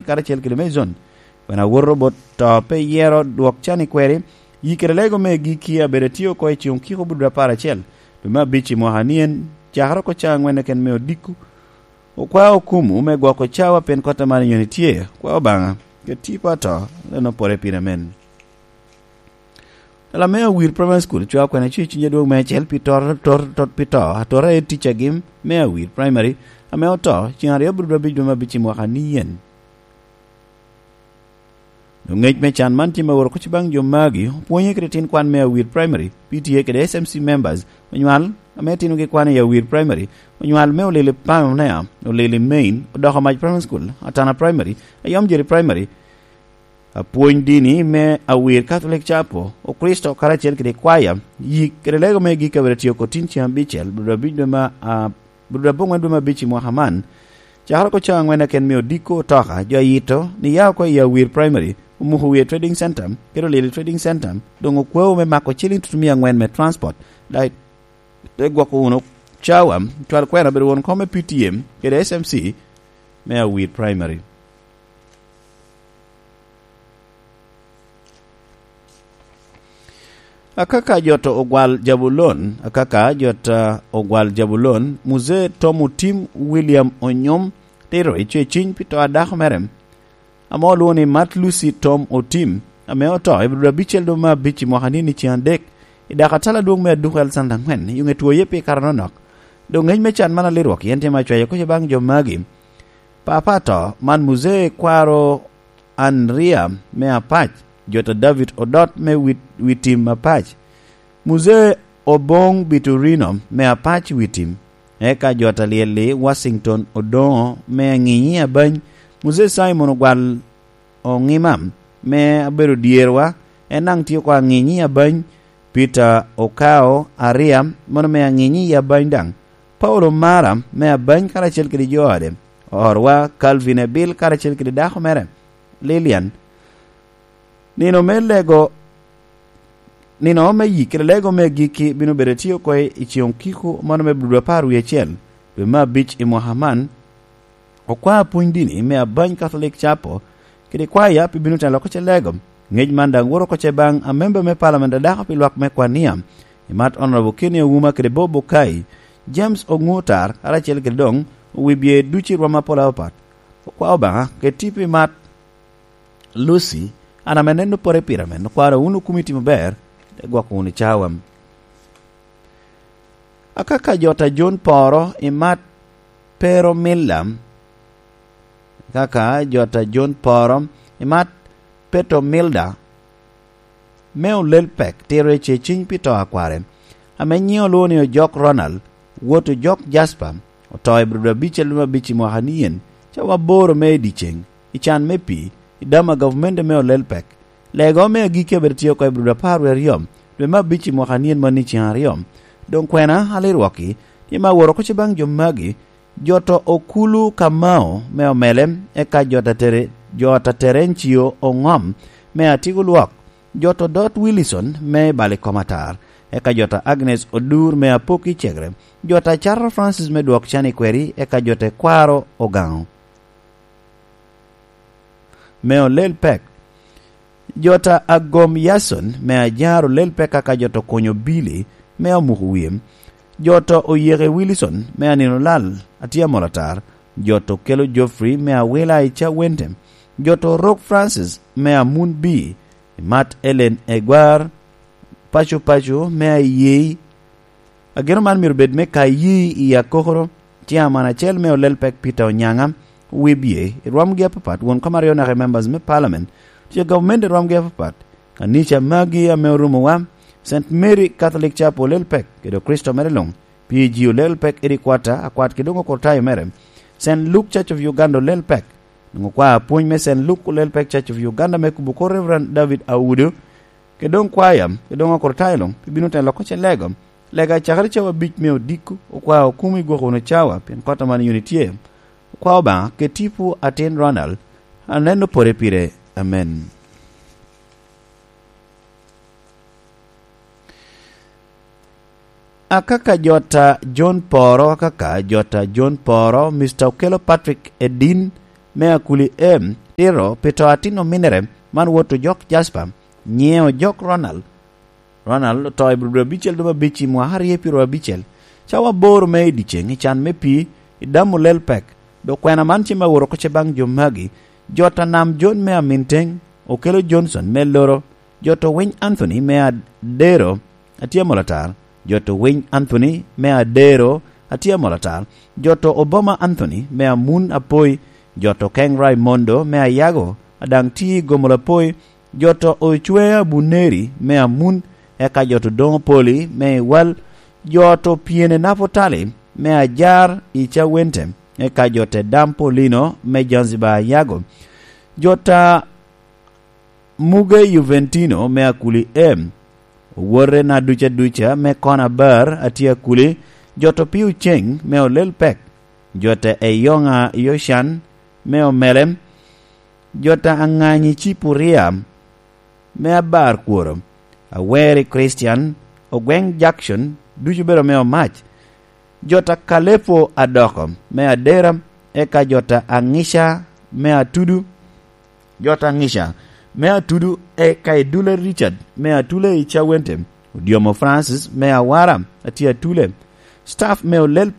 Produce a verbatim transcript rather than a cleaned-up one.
karacel kede Mason. Pien awoto bot to pe yero dwok can i kweri, yi kede lego me giki abedo atye oko i ceŋ okiko budura apar acel, dwe me abic i mwaka ni en, cakere oko cawa angwen keken me odiko. Okwao okumu me gwoko cawa pien kota man nyoni tye, kwa Obaŋa, ket tipo ato, leno pore pire men. Lame Awir Primary School cwao kwena cuc cwiny adwoŋ me acel pi tor, tor, tor, pi to, atora aye ticagi me Awir Primary, ame oto, ceŋ aryo abiro abic dwe me abic i mwaka ni yen. Doŋ ŋec me can man tye me woro kuc baŋ jo magi, opwonye kede tin kwan me Awir Primary, P T A kede S M C members, onywal, ame tinogi kwan i Awir Primary, onywal me Olili Pamnea, Olili Main, Odoko Mac Primary School, Atana Primary, Ayom Jeri Primary, apwony dini me Awir Catholic Chapel, Okristo karacel kede kwaya, yik kede lego me gik abedo tye oko tin ceŋ abicel, bro abic dwe ma, ah, bro abongwen dwe ma abic i mwaka man, cakere oko cawa angwen keken me odiko otoka, jo ayito, ni ya oko i Awir Primary, omuko wie Trading Center, kede Olili Trading Center, doŋ okweo me mako ciliŋ tutumia angwen me transport, dai, te gwoko wunu cawa, cwal kwena bedo won kom me P T M, kede S M C, me Awir Primary. Akaka jot ogwal Jabulon, akaka jot, ah, ogwal Jabulon, Muzee Tom Otim William Onyom, tito i ceciny pi to a dako mere, ame olwoŋo ni Mat Lucy Tom Otim, ame oto i bro abicel dwe me abic i mwaka ni ni ceŋ adek, i dako atala adwoŋ me aduku Alexander angwen, i ŋe twoye pi kare nonok. Doŋ ŋec me can man alirwok, yen tye ma cwayo kuc baŋ jo magi. Papa ato, man Muzee Kwaro Andria me Apac, jota David Odot me Wit-, Witim Apac, Muzee Oboŋ Biturino me Apac Witim, eka jota Lyelli Washington Odoŋo me Aŋinyi Abany, Muzee Simon Ogwal Oŋima me abedo dyerwa, en daŋ tye oko Aŋinyi Abany, Peter Okao Aria, mano me Aŋinyi Abany daŋ, Paulo Mara me Abany karacel kede jo ode, orwa Calvin Ebil karacel kede dako mere, Lilian. Nino me lego, nino me yik kede lego me agikki bino bedo tye oko i ceŋ okiko mano me bro apar wie acel, dwe me abic i mwaka man. Okwa apwony dini me Abany Catholic Chapel kede kwaya pi bino telo oko ce lego. Ŋec man daŋ woro oko ce baŋ amemba me Parliament a dako pi lwak me Kwania, i mat Honorable Kenny Ouma kede Bob Okai, James Oŋutar, karacel kede doŋ owibye ducu i rwom apol apapat. Okwa Obaŋa, keti pi mat Lucy, an ame neno pore pire men, okwano wun okumi timo ber, te gwoko wunu cawa. Akaka jota John Poro i mat Pero Milla, kaka jota John Poro i mat Peto Milda, me olel pek tiro i ceciny pi to a kware, ame nyiŋe olwoŋo ni Ojok Ronald, wot Ojok Jasper, oto i bro abicel me abic i mwaka ni yen, cawa aboro me i dyeceŋ, i can me pii, i dam a gavumenti me olel pek. Lego me agikki abedo tye oko i bro apar wie aryo, dwe me abic i mwaka ni yen man i ceŋ aryo. Doŋ kwena alirwokki, tye me aworo oko ce baŋ jo magi, jota Okulu Kamao me Omele, eka jota Tere-, jota Terencio Oŋom me Atigo Lwok, jota Dot Willison me Balikom Atar, eka jota Agnes Odur me Apoki Cegre, jota Cato Francis me Dwok Can i Kweri, eka jota Kwaro Ogaŋo me olel pek. Jota Agom Yason me Ajar olel pek aka jota Konyo Billy me Amuko Wie. Jota Oyeke Wilson me Anino Lal, atye amol atar. Jota Okelo Geoffrey me Awila i Cawente. Jota Orok Francis me Amun Bi, Mat Ellen Egwar, Paco Paco me Ayei, Ageno man myero bed me ka yi i akokoro, chairman acel me olel pek Peter Onyaŋa, wibye i rwomgi apapat, won kom aryo naka i members me parliament, tye gavumenti i rwomgi apapat, kanica magi ame orumowa, Saint Mary Catholic Chapel olel pek, kede Kricito mere luŋ, P G olel pek, Eddie Quata, akwat kede doŋ okurtayo mere, Saint Luke Church of Uganda olel pek, doŋ okwa apwony me Saint Luke olel pek Church of Uganda me kubo kor Reverend David Audo, kede doŋ kwaya, kede doŋ okurtayo luŋ, pi bino telo oko ce lego. Lega cakere cawa abic me odiko, okwa okumi gwoko wunu cawa, pien kota man yuni tye. Okwa Obaŋa, ket tipo atin Ronald, aneno pore pire. Amen. Akaka jota John Poro, akaka jota John Poro, Mister Okello Patrick Edin, me Akuli M, tito pi to atin ominere, man wot ojok Jasper, nyieŋo ojok Ronald. Ronald oto i bro abicel dobo abic i mwaka aryo pi rwo abicel. Cawa aboro me i dyeceŋ i can me pii, i damo lel pek. Dok kwena man cem awot oko ce baŋ jo magi. Jot a Nam John me Aminteng, Okello Johnson me Loro, jot a Winy Anthony me Adero, atye amol atar, jot a Winy Anthony me Adero, atye amol atar, jot a Obama Anthony me Amun Apoi, jot a Keng Raimondo me Ayago, a daŋ tye i Gomol Apoi, jot a Ocwe Abuneri me Amun, eka jot a Odoŋo Poli me Iwal, jot a Pyene Napotali me Ajar i Cawente, eka jot a Dam Polino me Zanzibar Ayago, jot a Muge Juventino me Akuli M, owote na duca duca me Kona Bar atye Akuli, jot a Opio Ceng me Olel Pek, jot a Eyoŋa Yocan me Omelem, jot a Aŋanyi Cipuria me Abar Kworo, Aweri Christian, Ogweŋ Jackson, ducu bedo me Omac, jot a Kalepo Adoko me Adera, eka jot a Aŋica me Atudu, jot a Aŋica me Atudu, eka Idule Richard me Atule i Cawente, Odyomo Francis me Awara atye Atule, staff me Olel Pek